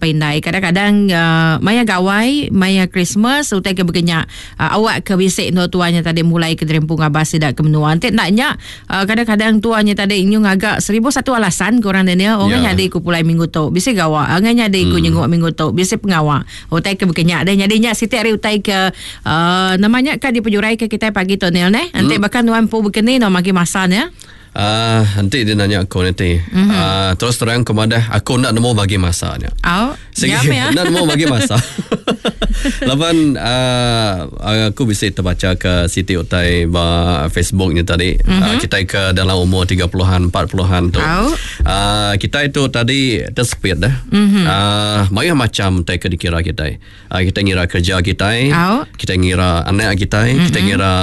apai indai. Kadang-kadang uh, maya gawai, maya Christmas utai ke begenya uh, awak ke bisi endur tua nya tadi mulai ke derempu ngabas sida ke menua. Enti enda nya uh, kadang-kadang tua nya tadi nyu ngaga 1001 alasan ke orang Daniel, orang yeah. nyadi ku pulai minggu tu, bisi gawa, orang nyadi ku nyenguk minggu tu, bisi pengawa. Utai ke begenya deh. Nyadi nya siti ari utai ke uh, nama nya ka dipejurai ke kitai pagi tu Neil neh. Enti hmm. baka nuan empu begeni nuan magi masa nya. Uh, enti dia nanya aku nanti. Mm-hmm. Uh, terus terang aku madah aku nak nemu bagi masa nya. Oh, Segi, ya. Nak nemu bagi masa. Laban uh, aku bisa terbaca ke siti utai ba Facebook ni tadi. Mm-hmm. Uh, kita ke dalam umur 30-an, 40-an tu. Oh. Uh, kita itu tadi tersepit dah. Mm-hmm. Uh, mayuh macam utai ke dikira kita. Uh, kita ngira kerja kita, oh. kita ngira anak kita, mm-hmm. kita ngira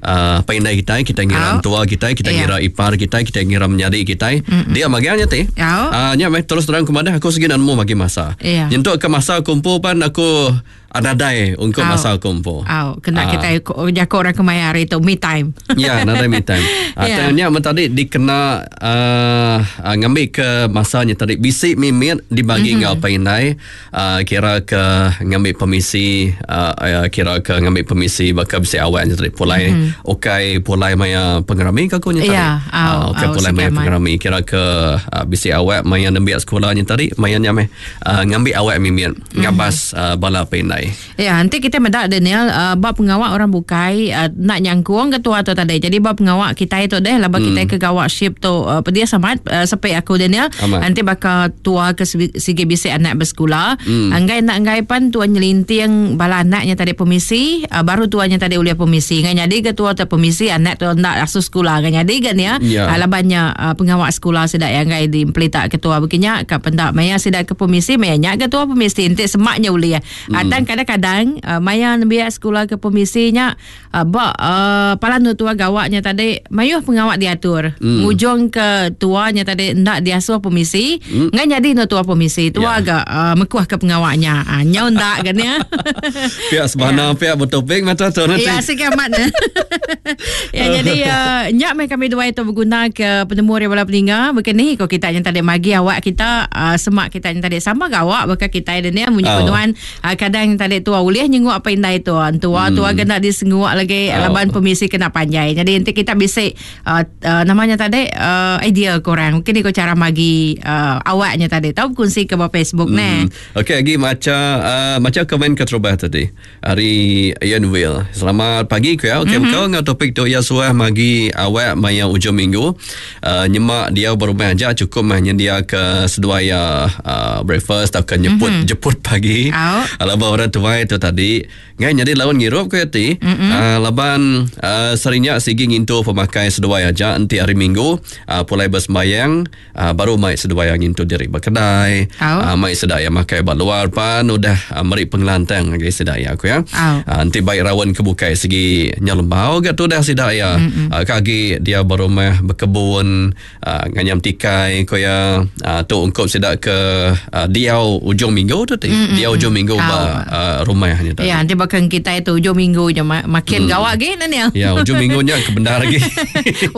uh, pandai kita, kita ngira oh. tua kita, kita yeah. ngira ipar kita, kita ngira menyadi kita. Mm-hmm. Dia magianya ti. Oh. Uh, nya meh terus terang kemana aku segi nemu bagi masa. Yeah. Nyentuk ke masa kumpul pan aku adadai untuk oh. masa kumpul. Oh, kena oh. kita jago orang kemaya hari tu me time. ya, nadai me time. Yeah. Nya tadi dikena uh, uh, ngambil ke masanya tadi bisi mimit dibagi mm-hmm. ngau pandai uh, kira ke ngambil permisi uh, kira ke ngambil permisi bakal bisi awak nya tadi pulai mm-hmm. ukai pulai maya pengerami ke aku nya tadi yeah, uh, ukai pulai maya pengerami kira ke uh, bisi awak maya nembiak sekolah nya tadi maya nya meh uh, ngambil awak mimit mm-hmm. ngabas uh, bala pendai ya nanti kita meda Daniel uh, bab pengawak orang bukai uh, nak nyangkung ke tua tu tadi jadi bab pengawak kita itu deh laba mm. kita ke gawak ship tu uh, pedia samat uh, sepi aku Daniel Amat. nanti bakal tua ke sigi bisi anak bersekula mm. anggai nak anggai pan tua nyelinting bala anaknya tadi permisi uh, baru tuanya tadi ulia permisi ngai nyadi ke tua tu permisi anak tu nak asuh sekolah ngai nyadi ke ni ya yeah. uh, labannya uh, pengawak sekolah sida yang anggai di pelita ketua begini ka pendak maya sida ke permisi maya nya ke tua permisi enti semaknya ulia mm. uh, dan kadang-kadang uh, maya nembiak sekolah ke permisinya Uh, ba uh, palan nu tua gawaknya tadi mayuh pengawak diatur. Mm. Ngujung ke tuanya tadi ndak diasuh permisi, mm. ngai nyadi nu tua permisi. Tua yeah. agak uh, mekuah ke pengawaknya. Uh, nyau ndak kan ya. Pihak sebana, yeah. pihak bertopik mata tu nanti. Ya, sikit amat. ya, jadi uh, nyak mai kami dua itu berguna ke penemu dari bala peninga. Begini ko kita yang tadi magi awak kita uh, semak kita yang tadi sama gawak bakal kita ini munyi oh. penuan Uh, kadang tadi tua ulih nyenguk apa indai tua. Tua hmm. tua kena disenguk lagi oh. laban permisi kena panjai. Jadi nanti kita bisa uh, uh, namanya tadi uh, idea korang. Mungkin ikut cara magi uh, awaknya tadi. Tahu kongsi ke bawah Facebook hmm. ne. Okey lagi macam uh, macam komen ke terubah tadi. Hari Ian Will. Selamat pagi ku ya. Okey mm-hmm. kau ngau topik tu ya suah magi awak maya ujung minggu. Uh, nyemak dia berumah aja cukup mah nyendia ke seduai ya uh, breakfast atau ke nyeput mm-hmm. jeput pagi. Oh. Laban orang tuai tu tadi ngai nyadi lawan ngirup ku ti. Mm-hmm. Uh, laban uh, serinya sigi ngintu pemakai seduai aja enti hari minggu uh, pulai bersembayang uh, baru mai seduai ngintu diri berkedai. Oh. Uh, mai sedaya makai ba luar pan udah uh, meri pengelantang ngagai sedaya aku ya. Oh. Uh, enti baik rawan ke bukai segi nyelembau ga tu dah sedaya. Mm-hmm. Uh, kagi dia berumah berkebun uh, nganyam tikai ko ya uh, tu ungkup sida ke uh, diau ujung minggu tu ti mm-hmm. diau ujung minggu ba uh, rumahnya tadi. Ya, nanti bahkan kita itu ujung minggu je makin mm. gawak lagi Daniel. Ya, ujung minggu nya ke bendar lagi.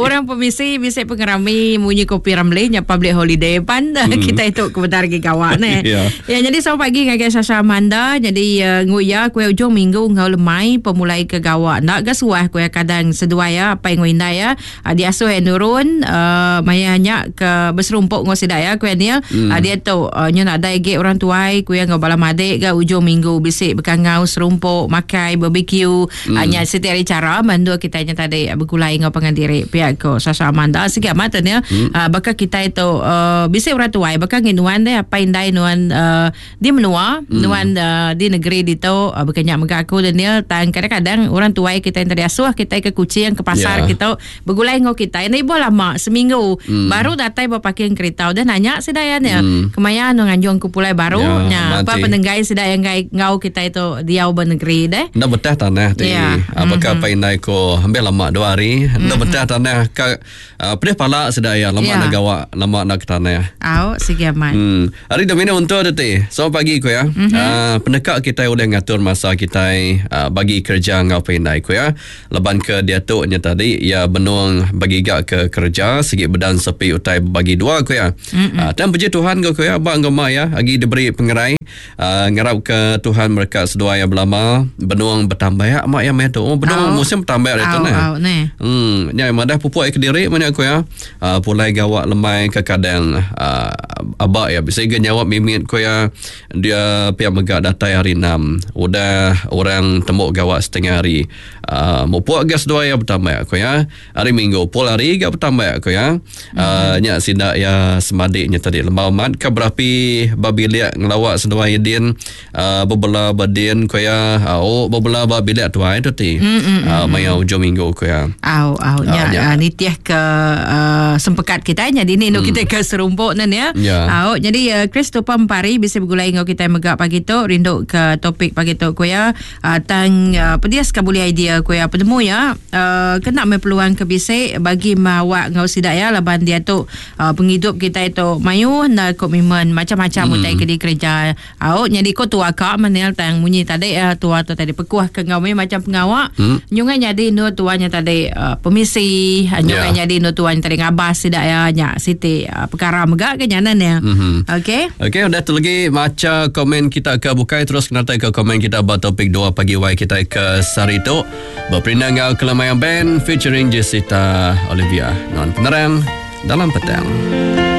Orang permisi bisa pengerami munyi kopi ramli nya public holiday pan mm. kita itu ke bendar lagi gawak ne. Ya. Ya, jadi selamat pagi ngagai Sasha Amanda. Jadi uh, nguya kue ujung minggu ngau lemai pemulai ke gawak. Ndak ke suah kue kadang seduai ya apa yang indai ya. Uh, diasuh yang nurun uh, maya nya ke berserumpuk ngau sidak ya kue Neil. Mm. Uh, dia tu uh, nya nak dai ge orang tuai kue ngau bala madik ke ujung minggu bisik bekangau serumpuk makai barbecue. Mm. Uh, nya setiap hari cara mandu kita nya tadi bergulai ngau pangan diri pihak ko Sasha Amanda sikit amat tu ya. Mm. Uh, bakal kita itu uh, bisik orang tuai bakal nginuan deh apa indai nuan uh, di menua mm. nuan uh, di negeri di tu uh, berkenyak mega aku Daniel tang kadang-kadang orang tuai kita yang tadi asuh kita ke kucing ke pasar Yeah. kita bergulai ngau kita ini ibu lama seminggu mm. baru datai bawa parking kereta udah nanya sedaya ni mm. kemaya nu nganjung ke pulai baru Ya, nya apa mati. penenggai sedaya ngai ngau kita itu diau bernegeri deh Ndak betah tanah ti. Ya. Yeah. Bakal mm-hmm. indai ko hampir lama dua hari. Ndak mm-hmm. betah tanah ka uh, pedih pala sedaya lama Ya. nak gawak, lama nak ke tanah. Au sigi amat. Hmm. Hari Domina untuk tu ti. Selamat pagi ku ya. Mm-hmm. Uh, penekak kita udah ngatur masa kita uh, bagi kerja ngau pendai ku ya. Laban ke diatu nya tadi iya benung begiga ke kereja sigi bedan sepi utai bebagi dua ku iya. Uh, tang puji Tuhan ku iya ba enggau mak iya agi diberi pengerai. Uh, ngarap ke Tuhan mereka seduai iya belama benung betambak mak iya meh tu. Oh, benung oh. musim betambak ditu neh. Oh, neh. Hmm, nya madah pupuk iya kediri meh nya ku iya. Uh, pulai gawa lemai ke kadang uh, aba iya bisi ga nyawap mimit ku iya. Dia pia mega datai hari enam. Udah orang tembu gawa setengah hari. Uh, mupuk ga seduai iya betambak ku iya. Hari minggu pul hari ga betambak ku iya. Uh, nya sida iya semadi nya tadi lembau amat ka berapi ba bilik ngelawa seduai iya din. Uh, bebela ba din ku iya. Uh, oh bebela ba bilik tuai tu ti. Uh, maya ujung minggu ku iya. Au au nya uh, nitih ke uh, sempekat kita nya dini mm. kita ke serumpuk nan ya. Yeah. Au jadi uh, Christopher Empari bisa begulai enggau kita mega pagi tu rindu ke topik pagi tu ku ya uh, tang uh, pedias ka boleh idea ku ya penemu ya uh, kena me peluang ke bisi bagi mawak enggau sida ya laban dia tu uh, pengidup kita itu mayuh na komitmen macam-macam mm. utai ke dikereja Au nyadi ko tua ka menil tang munyi tadi uh, tua tu tadi pekuh ke enggau meh macam pengawa hmm. nyungai nyadi endur tua nya tadi uh, pemisi uh, nyungai yeah. nyadi endur tua nya tadi ngabas sida ya nya siti uh, perkara mega ke nya nan ya. Mm-hmm. Okey. Okey udah tu lagi macha komen kita ke bukai terus kena ke komen kita ba topik 2 pagi wai kita ke sehari tu berperindang enggau Kelemayang Band featuring Jessica Olivia. Non penerang dalam petang.